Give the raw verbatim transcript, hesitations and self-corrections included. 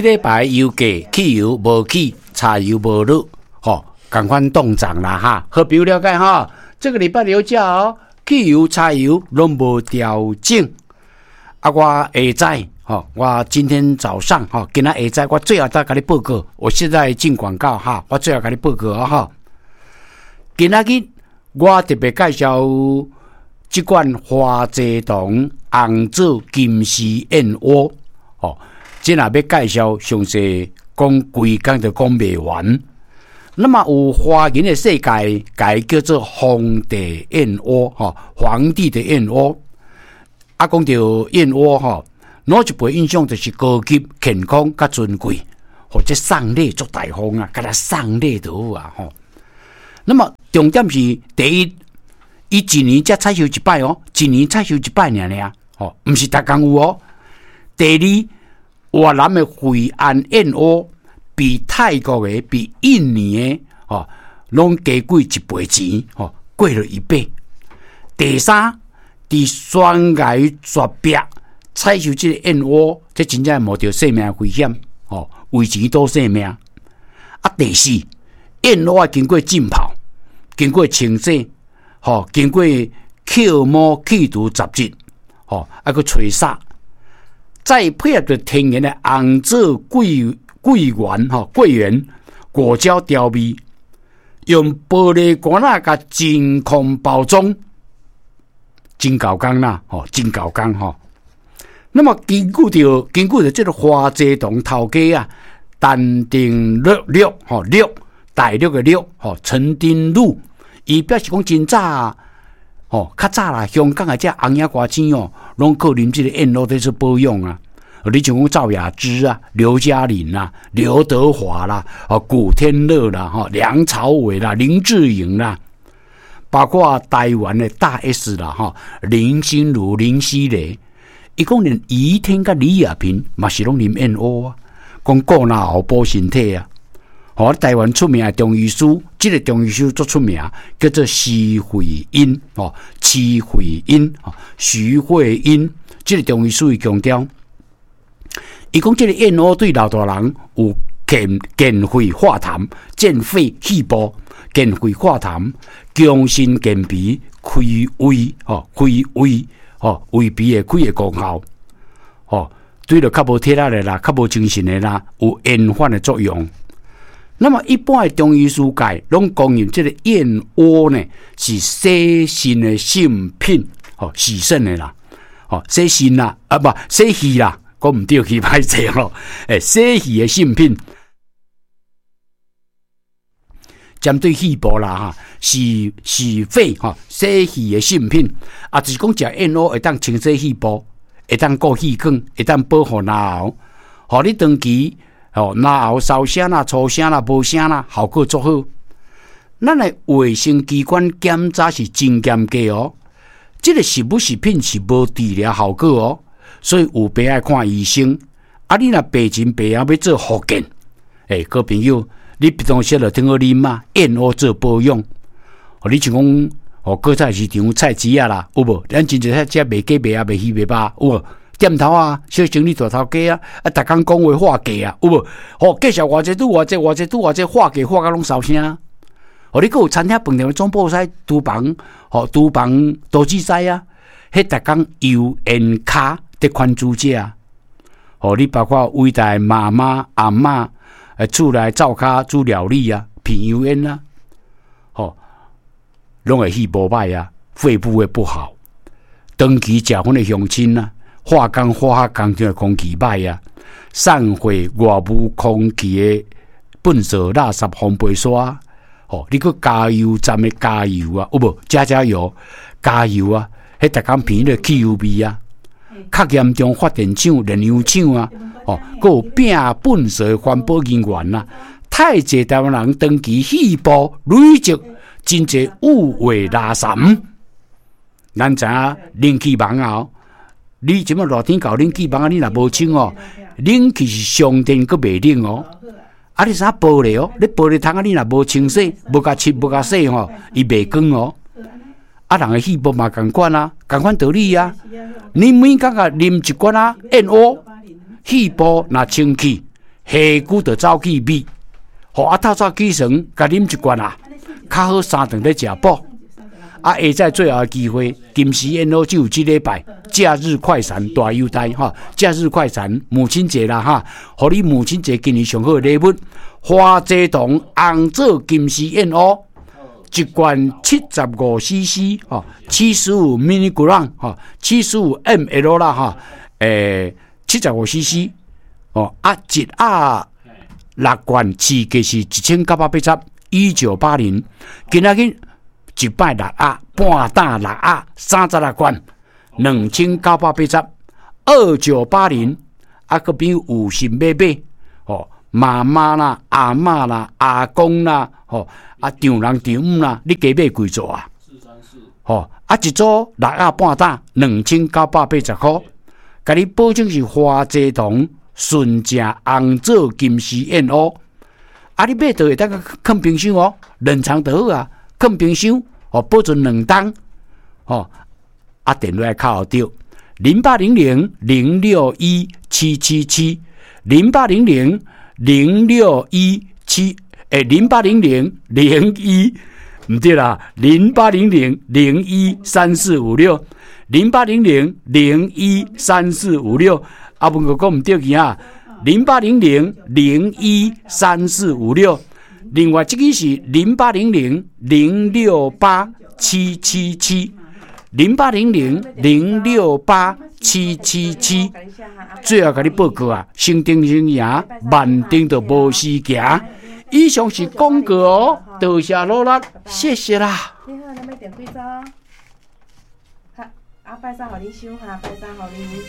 這禮拜油價汽油無起，柴油無落，吼，仝款凍漲啦哈。好朋友了解哈？這個禮拜油價哦，汽油、柴油攏無調整。啊，我下早吼，我今天早上吼，今仔下早我最後再共你報告。我現在進廣告哈，我最後共你報告啊哈。今仔日我特別介紹這款花濟堂紅棗金絲燕窩，吼，這若欲介紹詳細講規工都講袂完。那麼有華人的世界，共叫做皇帝燕窩，吼，皇帝的燕窩。啊，講著燕窩吼，老一輩印象就是高級、健康、較尊貴，或者送禮足大方啊，共送禮就好啊，吼。那麼重點是第一，伊一年才採收一擺哦，一年採收一擺爾爾，吼，毋是逐工有哦。第二，越南的惠安燕窩比泰國的、比印尼的，吼，攏加貴一倍錢，吼，貴了一倍。第三，佇懸崖絕壁採收這個燕窩，這真正冒著性命危險，吼，為錢賭性命。啊，第四，燕窩愛經過浸泡，經過清洗，吼，經過扣毛去除雜質，吼，啊，閣吹沙，再配合著天然的紅棗桂桂圓吼桂圓果膠調味，用玻璃罐仔共真空包裝，真猴工啦，吼，真猴工吼。那麼根據著根據著這個花濟堂頭家啊，陳丁樂樂吼樂大陸的樂吼陳丁祿，伊表示講真早吼，較早啦，香港的這紅影歌星哦，攏靠啉這個燕窩佇做保養啊。你像講趙雅芝啊、劉嘉玲啦、劉德華啦、哦古天樂啦、吼梁朝偉啦、林志穎啦，包括台灣的大 S 啦、吼林心如、林熙蕾，伊講連余天佮李亞萍嘛是攏啉燕窩啊，講顧嚨喉補身體啊。吼，台灣出名的中醫師，這個中醫師足出名，叫做徐慧英，吼，徐慧英，徐慧英，這個中醫師伊強調，伊講這個燕窩對老大人有健健肺化痰、健肺氣部、健肺化痰、強身健脾、開胃，吼，開胃，吼，胃脾會開的功效，吼，對著較無體力的啦，較無精神的啦，有延緩的作用。那麼一般的中醫師界攏公認這個燕窩呢是洗腎的聖品，吼，洗腎的啦，吼，洗腎啦，啊不，洗氣啦，講毋對去歹勢吼，欸，洗氣的聖品，針對肺部啦，哈，洗洗肺吼，洗氣的聖品，啊，就是講食燕窩會當清洗肺部，會當顧氣管，會當保護嚨喉，予你長期。哦，嚨喉燒聲啦、粗聲啦、無聲啦，效果足好。咱的衛生機關檢查是真嚴格哦。這個食物食品是無治療效果哦，所以有病愛看醫生。啊，你若病前病後欲做復健，欸，好朋友，你平常時就挺好啉啊，燕窩做保養。哦，你像講哦，果菜市場菜市仔啦，有無？咱真濟菜食賣雞賣鴨賣魚賣肉，有無？店頭啊，小生理大頭家啊，啊，逐工講話喊價啊，有無？吼，介紹偌濟拄偌濟，偌濟拄偌濟，喊價喊甲攏燒聲。哦，你閣有餐廳飯店的總鋪師廚房，吼，廚房廚子師啊，彼逐工油煙跤佇牽豬食。吼，你包括偉大的媽媽、阿嬤，欸，厝內灶跤煮料理啊，鼻油煙啊，吼，攏會氣無歹啊，肺部會不好。長期食薰的鄉親啊。化工化學工廠的空氣歹啊，散火外部空氣的糞掃、垃圾、烘焙刷，吼，你閣加油站的加油啊，有無？加加油，加油啊！彼逐工鼻的汽油味啊，較嚴重發電廠、煉油廠啊，吼，閣有摒糞掃的環保人員啊，太濟台灣人長期肺部累積真濟有味垃圾。咱知影冷氣房啊。你這馬熱天到冷氣房啊，你若無清哦，冷氣是上電閣袂冷哦。啊，你啥玻璃哦？你玻璃窗啊，你若無清洗、無共拭、無共洗吼，伊袂光哦。啊，人的肺部嘛仝款啊，仝款道理啊。你每工共啉一罐仔燕窩，肺部若清氣，下久就走去味，吼啊透早起床，共啉一罐啊，較好三頓咧食補。啊，下載最後的機會，金絲燕窩只有這禮拜，假日快閃大優待哈！假日快閃，母親節啦哈，予你母親節今年上好的禮物，花蔗糖紅棗金絲燕窩，一罐七十五 C C 吼，七十五 milligram 吼，七十五 mL 啦哈，欸，七十五 C C 哦，啊，一盒六罐，市價是一千九百八十，一九八零，今仔日一擺六盒，半擔六盒，三十六罐，兩千九百八十，二九八零，啊，閣比有心欲買，吼，媽媽啦、阿嬤啦、阿公啦，吼，啊，丈人丈母啦，你加買幾組啊？吼，啊，一組六盒半擔，兩千九百八十箍，共你保證是花蔗糖純正紅棗金絲燕窩，啊，你買著會當囥冰箱哦，冷藏就好啊，囥冰箱。哦，保存兩冬，吼，啊，電話敲著零八零零零六一七七七，零八零零零六一七，欸，零八零零零一，毋對啦，零八零零零一三四五六，零八零零零一三四五六，啊，問過講毋對去啊，零八零零零一三四五六。另外，這個是零八零零零六八七七七，零八零零零六八七七七。最後共你報告啊，省定省贏，慢定就無時行。以上是廣告哦，多謝努力，謝謝啦。你好，你欲訂幾組？好，啊，拜三予你收哈，拜三予你。